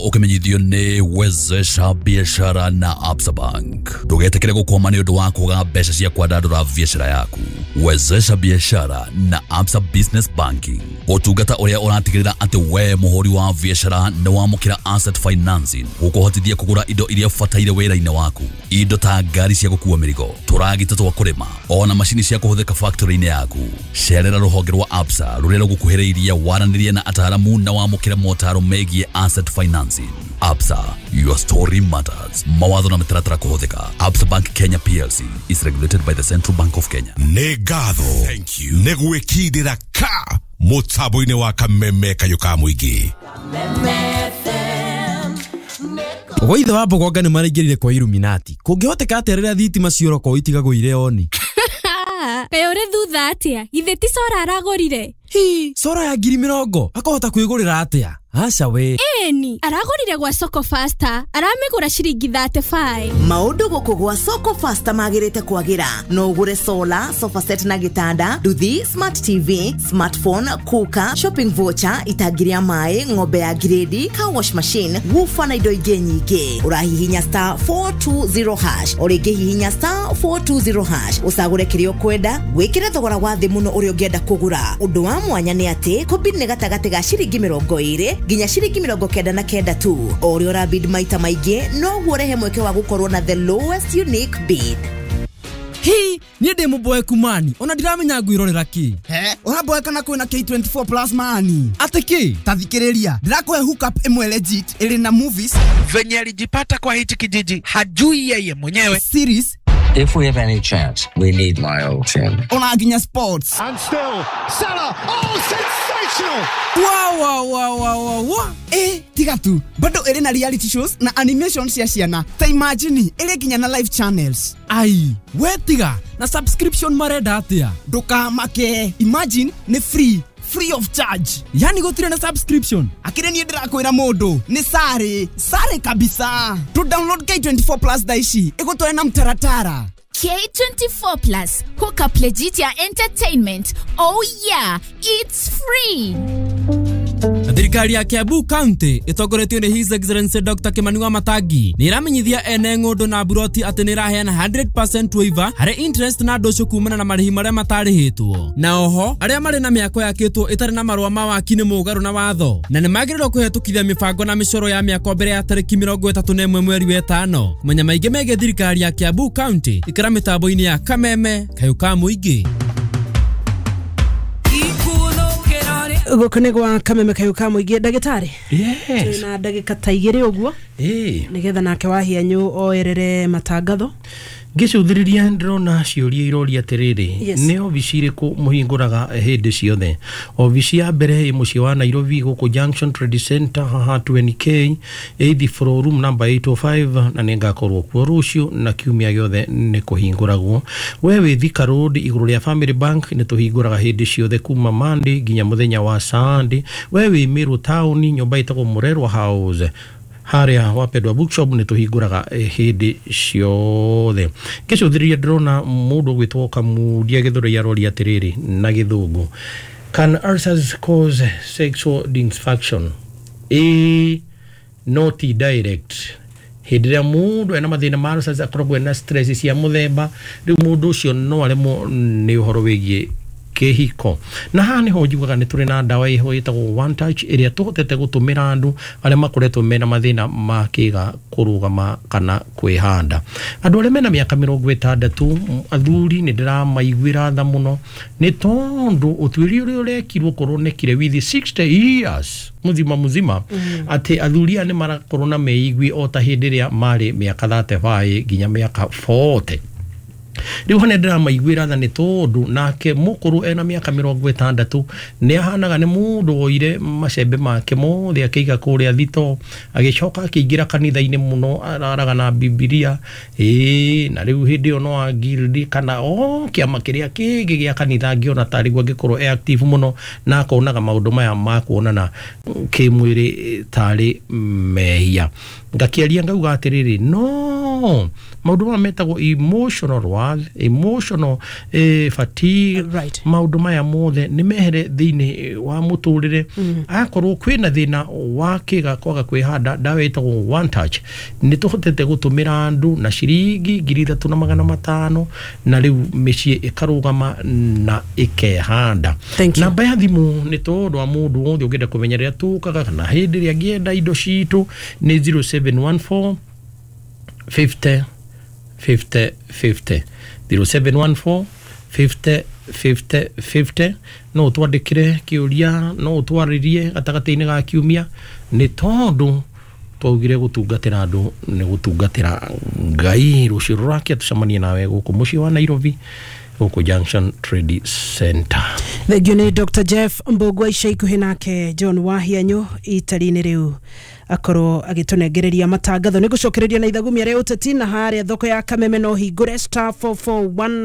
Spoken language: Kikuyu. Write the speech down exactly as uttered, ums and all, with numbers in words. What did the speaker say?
Ũkĩmenyithio nĩ Wezesha Biashara na Absa Bank. Ndũgetĩkĩre gũkwama nĩ ũndũ wa kwaga mbeca cia kwandandũra biacara yaku. Wezesha Biashara na Absa Business Banking, ũtungata ũrĩa ũratigĩrĩra atĩ we mũhũri wa biacara nĩ wamũkĩra asset financing gũkũhotithia kũgũra indo iria ũbataire wĩra-inĩ waku, indo ta ngari cia gũkua mĩrigo, tũragita twa kũrĩma, ona macini cia kũhũthĩka factory-inĩ yaku. Cerera rũhonge rwa Absa rũrĩa rũgũkuhĩrĩirie, waranĩrie na ataaramu na wamũkĩre motaro megiĩ asset financing. Absa, your story matters. Mawatho na mĩtaratara kũhũthĩka. Absa Bank Kenya P L C is regulated by the Central Bank of Kenya. Nĩ ngatho nĩ gwĩkindĩra ka mũtambo-inĩ wa Kameme Kayũ ka Mũingĩ. Gwa ithe wa Mbogonga nĩ maraingĩrire kwa Illuminati. Kũngĩhoteka atĩa rĩrĩa thitima ciora kwao itigagwo irĩ on? Kaĩ ũrĩ thutha atĩa? Githĩ ti solar aragũrire? Hi, solar ya ngiri mĩrongo akahota kwĩgũrĩra atĩa? Aca we. Ĩni, aragũrire gwa Soko Faster, aramĩgũra ciringi mĩrongo ĩtatũ na ithano. Maũndũ gũkũ gwa Soko Faster magĩrĩte kwagĩra. No ũgũre solar, sofa set na gĩtanda, nduthi, smart T V, smartphone, cooker, shopping voucher, itangi rĩa maĩ, ng'ombe ya grade, car wash machine, woofer na indo ingĩ nyingĩ. Ũrahihinya star four two zero hash, o rĩngĩ hihinya star four two zero hash, ũcagũre kĩrĩa ũkwenda, wĩkĩre thogora wa thĩ mũno ũrĩa ũngĩenda kũgũra. Ũndũ wa mwanya nĩ atĩ kũbid nĩ gatagatĩ ga ciringi mĩrongo ĩrĩ nginya ciringi mĩrongo kenda na kenda tu. O ũrĩa ũrabid maita maingĩ, noguo ũrehe mweke wa gũkorwo na the lowest unique bid. Hi, niĩ ndĩ mũboeku mani, ona ndiramenya ngwĩrorera kĩ. He, ũraboeka na kwĩna K twenty-four Plus mani. Atĩ kĩ? Ta thikĩrĩria, ndĩrakũhe hookup ĩmwe legit ĩrĩ na movies, Venye alijipata kwa hichi kijiji hajui yeye mwenyewe. series, If we have any chance, we need my old team. ona nginya sports. And still, Salah. Oh, sensational! Wa wa wa wa wa wa. Eh, tiga tu, bado ĩrĩ na reality shows na animation cia ciana. Ta imagine ĩrĩ nginya na live channels. Ai, we tiga na subscription marenda atĩa? Ndũkamake, imagine nĩ free, free of charge. Yani gũtirĩ na subscription? Akĩrĩ niĩ ndĩrakwĩra mũndũ nĩ sare sare kabisa. Tu download K twenty-four Plus thaa ici ĩgũtware na mtaratara. K twenty-four Plus, hook up legit ya entertainment. Oh yeah, it's free. Thirikari ya Kiambu County ĩtongoretio nĩ His Excellency Doctor Kimani Wamatangi nĩ ĩramenyithia ene ng'ũndũ na buroti atĩ nĩ ĩraheana hundred percent waiver harĩ interest na ndũcũ kumana na marĩhi marĩa matarĩhĩtwo. Na oho arĩa marĩ na mĩako yakĩtwo ĩtarĩ na marũa ma waki nĩ mũgarũ na watho na nĩ magĩrĩirwo kũhetũkithia mĩbango na mĩcoro ya mĩako mbere ya tarĩki mĩrongo ĩtatũ na ĩmwe mweri wa ĩtano. Kũmenya maingĩ megiĩ thirikari ya Kiambu County, ikĩra mĩtambo-inĩ ya Kameme Kayũ ka Mũingĩ. Gũkũ nĩ gwa Kameme Kayũ ka Mũingĩ. Ndagĩtarĩ, Yes. na ndagĩka ta igĩrĩ ũguo Ĩĩ. nĩgetha nake Wahianyũ oerere matangatho. Ngĩcũthĩrĩria ndĩrona ciũria iroria atĩrĩrĩ, Yes. nĩ obici irĩkũ mũhingũraga hĩndĩ ciothe? Obici ya mbere ĩ mũciĩ wa Nairobi, gũkũ Junction Trade Center, haha twenty K, eighth floor, room number eight oh five, na nĩ ngakorwo kuo rũciũ na kiumia gĩothe nĩ kũhingũragwo. We wĩ Thika Road, igũrũ rĩa Family Bank, nĩ tũhingũraga hĩndĩ ciothe kuma Monday nginya mũthenya wa Sunday. We wĩ Meru Town, nyũmba ĩtagwo Mũrerwa House, harĩa Wapendwa Bookshop, nĩ tũhingũraga eh, hĩndĩ ciothe. Ngĩcũthĩrĩria ndĩrona mũndũ ũgwĩtwo Kamundia Gĩthũrai aroria atĩrĩrĩ na Gĩthũngũ, "Can ulcers cause sexual dysfunction?" Ĩĩ, no ti direct. Hĩndĩ ĩrĩa mũndũ ena mathĩna ma ulcers akoragwo ena stress cia mũthemba rĩu, mũndũ ũcio no aremwo nĩ ũhoro wĩgiĩ kĩhiko. Na haha nĩho njugaga nĩ tũrĩ na ndawa ĩho ĩtagwo One Touch, ĩrĩa tũhotete gũtũmĩra andũ arĩa makoretwo mena mathĩna ma kĩga kũrũgama kana kwĩhanda. Andũ arĩa mena mĩaka mĩrongo ĩtandatũ, m- athuri, nĩ ndĩramaiguĩra tha mũno nĩ tondũ ũtuĩria ũrĩa ũrekirwo kũronekire with sixty years muzima muzima mm. atĩ athuri aya nĩ marakorwo na meigwi o ta hĩndĩ ĩrĩa marĩ mĩaka thirty-five nginya mĩaka forty. Rĩu hana ndĩramaiguĩra tha nĩ tondũ nake mũkũrũ ena mĩaka mĩrongo ĩtandatũ nĩ ahanaga nĩ mũndũ woire macembe make mothe akĩiga kũrĩa thito, agĩcoka akĩingĩra kanitha-inĩ mũno, araraga na Bibilia, ĩĩ, na rĩu hĩndĩ ĩyo no angirdi kana o kĩama kĩrĩa kĩngĩ gĩa kanitha angĩona tarĩ guo angĩkorwo e active mũno na akonaga maũndũ maya ma kuonana kĩmwĩrĩ tarĩ mehia. Ngakĩaria ngauga atĩrĩrĩ, no No maũndũ maya metagwo emotional worth, emotional eh, fatigue. Right. Maũndũ maya mothe nĩ mehere thĩinĩ wa mũtũrĩre. mm. Akorwo kwĩna thĩna wa kĩga kwaga kwĩhanda, ndawa ĩtagwo One Touch nĩ tũhotete gũtũmĩra andũ na ciringi ngiri ithatũ na magana matano, na rĩu mĩciĩ ĩkarũgama na ĩkehanda. Thank you. Namba ya thimũ nĩ tondũ wa mũndũ wothe ũngĩenda kũmenya rĩrĩa tũkaga kana hĩndĩ ĩrĩa angĩenda indo citũ nĩ zero seven one four fifty fifty fifty, zero seven one four fifty fifty fifty. No ũtwandĩkĩre kĩũria, no ũtwarĩrie gatagatĩ-inĩ ga kiumia, nĩ tondũ twaugire gũtungatĩra andũ nĩ gũtungatĩra Ngai. Rũciũ rũrakia tũcemanie nawe gũkũ mũciĩ wa Nairobi, gũkũ Junction Trade Center. Thengio nĩ Doctor Jeff Mbũgua. Ica ikuhĩ nake John Wahianyũ itari-inĩ rĩu akorwo agĩtũnengereria matangatho. Nĩ gũcokereria na ithagumia rĩa ũteti na harĩa thoko ya Kameme no hingũre star four four one.